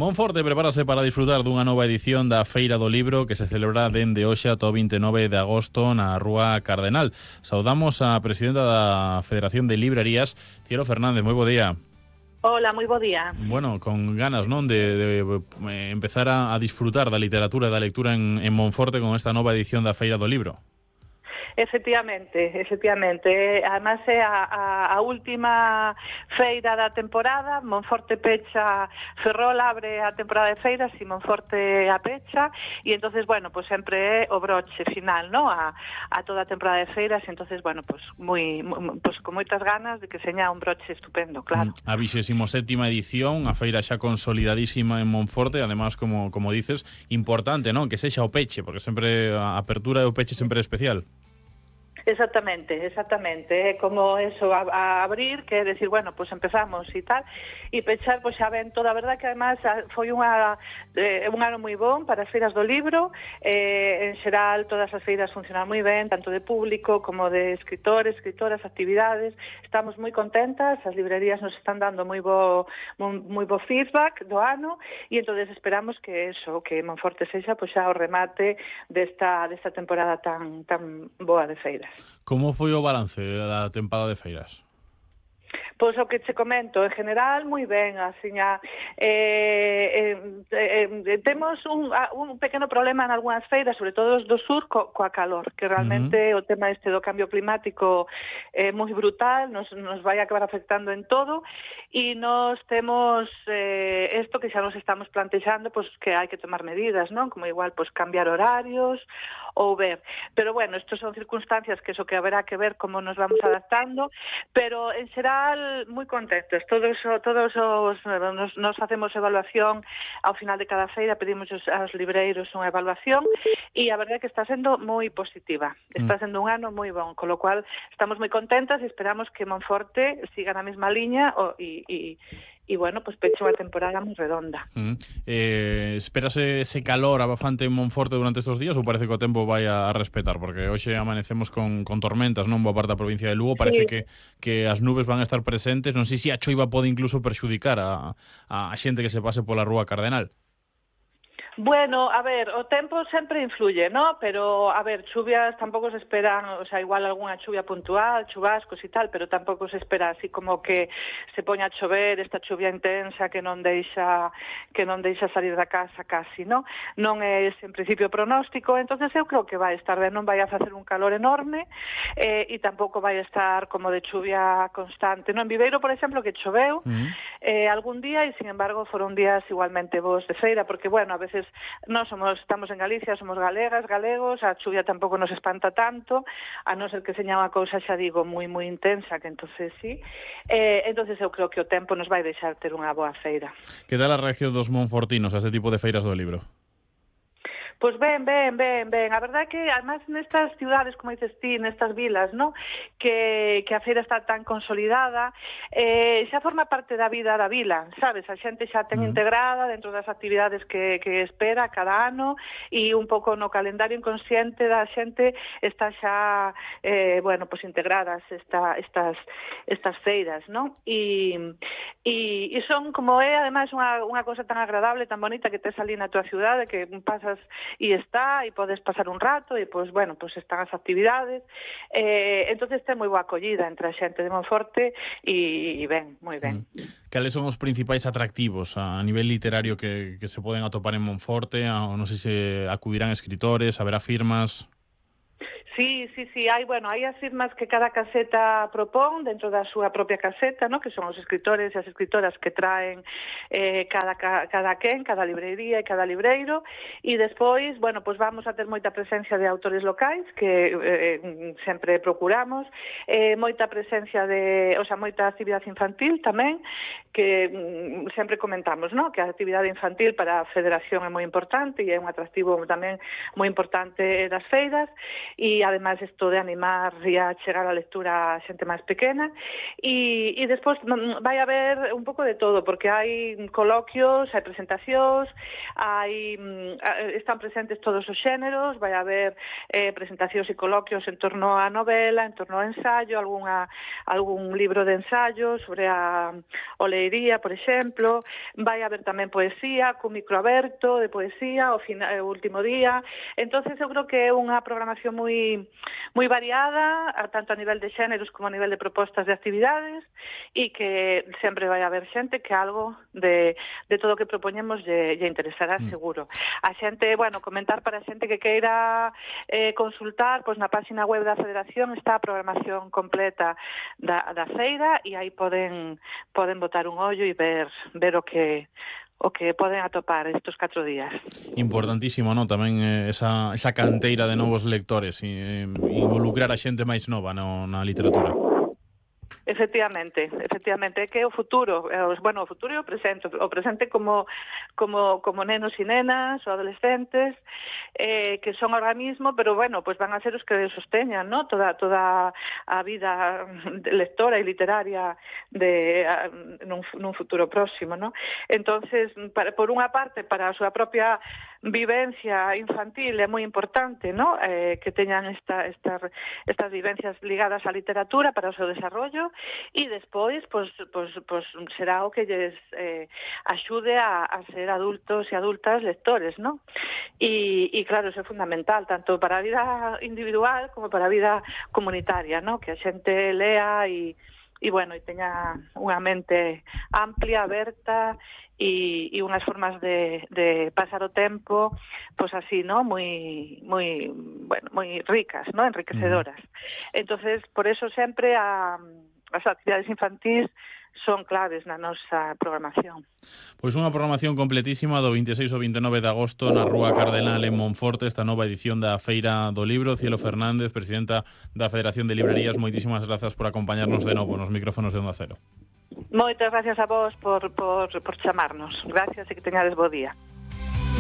Monforte prepárase para disfrutar dunha nova edición da Feira do Libro que se celebra dende hoxe ata o 29 de agosto na Rúa Cardenal. Saudamos a presidenta da Federación de Librerías, Cielo Fernández. Moi bo día. Hola, moi bo día. Bueno, con ganas, non, de empezar a disfrutar da literatura e da lectura en Monforte con esta nova edición da Feira do Libro. Efectivamente. Además é a última feira da temporada. Monforte pecha, Ferrol abre a temporada de feiras e Monforte a pecha, e entonces, bueno, pues sempre é o broche final, ¿no? a toda a temporada de feiras, e entonces, bueno, pues con moitas ganas de que seña un broche estupendo, claro. A 27ª edición, a feira xa consolidadísima en Monforte, además, como dices, importante, ¿no? Que sexa o peche, porque sempre a apertura e o peche sempre é especial. Exactamente, é como eso, a abrir, que é decir, bueno, pues empezamos e tal, e pechar, pues xa ven toda a verdad que además foi un ano moi bon para as feiras do libro. En xeral todas as feiras funcionan moi ben, tanto de público como de escritores, escritoras, actividades. Estamos moi contentas, as librerías nos están dando moi bo feedback do ano, e entonces esperamos que Monforte sexa pues xa o remate desta temporada tan boa de feiras. Como foi o balance da tempada de feiras? Pois o que che comento, en general, moi ben, asiña, temos un pequeno problema en algunhas feiras, sobre todo os do sur, coa calor, que realmente o tema este do cambio climático é moi brutal, nos vai acabar afectando en todo, e nos temos isto que xa nos estamos plantexando, pois que hai que tomar medidas, non? Como igual, pois cambiar horarios, ou ver. Pero bueno, estos son circunstancias que haberá que ver como nos vamos adaptando, pero en xeral moi contentos. Todos nos facemos evaluación ao final de cada feira, pedimos aos libreiros unha evaluación, e a verdade é que está sendo moi positiva. Está sendo un ano moi bon, con lo cual estamos moi contentas e esperamos que Monforte siga na mesma liña e bueno, pues peche unha temporada moi redonda. Espérase ese calor abafante en Monforte durante estes días ou parece que o tempo vai a respetar? Porque hoxe amanecemos con tormentas, non? Boa parte da provincia de Lugo, parece que as nubes van a estar presentes. Non sei se a choiva pode incluso perxudicar a xente que se pase pola Rúa Cardenal. Bueno, a ver, o tempo sempre influye, ¿no? Pero, a ver, chuvias tampouco se esperan, o sea, igual algunha chuvia puntual, chubascos e tal, pero tampouco se espera así como que se poña a chover, esta chuvia intensa que non deixa salir da casa casi, ¿no? Non é ese en principio pronóstico, entonces eu creo que vai estar ben, non vai a facer un calor enorme, e tampouco vai a estar como de chuvia constante, ¿no? En Viveiro, por exemplo, que choveu algún día, e sin embargo foron días igualmente bons de feira, porque, bueno, a veces estamos en Galicia, somos galegas, galegos, a chuvia tampouco nos espanta tanto, a non ser que seña unha cousa, xa digo, moi intensa, que entonces sí. Entonces eu creo que o tempo nos vai deixar ter unha boa feira. Que tal a reacción dos monfortinos a este tipo de feiras do libro? Pois ben. A verdade é que, además, nestas ciudades, como dices ti, nestas vilas, ¿no? Que a feira está tan consolidada, xa forma parte da vida da vila, sabes? A xente xa ten integrada dentro das actividades que espera cada ano, e un pouco no calendario inconsciente da xente está xa, bueno, pues integradas estas feiras, ¿no? E son, como é, además, unha cosa tan agradable, tan bonita que tes ali na tua ciudade, que pasas e podes pasar un rato, e pois, bueno, pois están as actividades, entonces ten moi boa acollida entre a xente de Monforte, e ben, moi ben. Cales son os principais atractivos a nivel literario que se poden atopar en Monforte? Non sei se acudirán escritores, haberá firmas... Sí, hai as firmas que cada caseta propón dentro da súa propia caseta, ¿no? Que son os escritores e as escritoras que traen cada librería e cada libreiro, e despois, bueno, pues vamos a ter moita presencia de autores locais que sempre procuramos, moita presencia moita actividade infantil tamén, que sempre comentamos, ¿no? Que a actividade infantil para a Federación é moi importante e é un atractivo tamén moi importante das feiras. e ademais isto de animar e a chegar a lectura a xente máis pequena, e despois vai haber un pouco de todo, porque hai coloquios, hai presentacións, están presentes todos os xéneros, vai haber presentacións e coloquios en torno á novela, en torno ao ensayo, algún libro de ensayo sobre a oleiría, por exemplo. Vai haber tamén poesía, cun micro aberto de poesía o último día. Entonces eu creo que é unha programación moi variada, tanto a nivel de xéneros como a nivel de propostas de actividades, e que sempre vai haber xente que algo de todo o que propoñemos lle interesará seguro. A xente, comentar para a xente que queira consultar, pois na página web da Federación está a programación completa da feira, e aí poden botar un ollo e ver o que poden atopar estes 4 días. Importantísimo, non? Tamén esa canteira de novos lectores e involucrar a xente máis nova na literatura. Efectivamente, é que o futuro, o futuro e o presente como nenos e nenas ou adolescentes, que son ahora mismo, pero pues van a ser os que sosteñan, ¿no? toda a vida lectora e literaria nun futuro próximo, ¿no? Entonces, por unha parte, para a súa propia vivencia infantil é moi importante, ¿no? Que teñan estas vivencias ligadas á literatura para o seu desarrollo, e despois será o que lles axude a ser adultos e adultas lectores, ¿no? E claro, eso é fundamental, tanto para a vida individual como para a vida comunitaria, ¿no? Que a xente lea e teña unha mente amplia, aberta, e unhas formas de pasar o tempo, pois así, ¿no? moi ricas, ¿no? Enriquecedoras. Entonces, por eso sempre as actividades infantís son claves na nosa programación. Pois unha programación completísima do 26 ao 29 de agosto na Rúa Cardenal en Monforte, esta nova edición da Feira do Libro. Cielo Fernández, presidenta da Federación de Librerías, moitísimas grazas por acompañarnos de novo nos micrófonos de Onda Cero. Moitas gracias a vos por chamarnos. Gracias e que teñades bo día.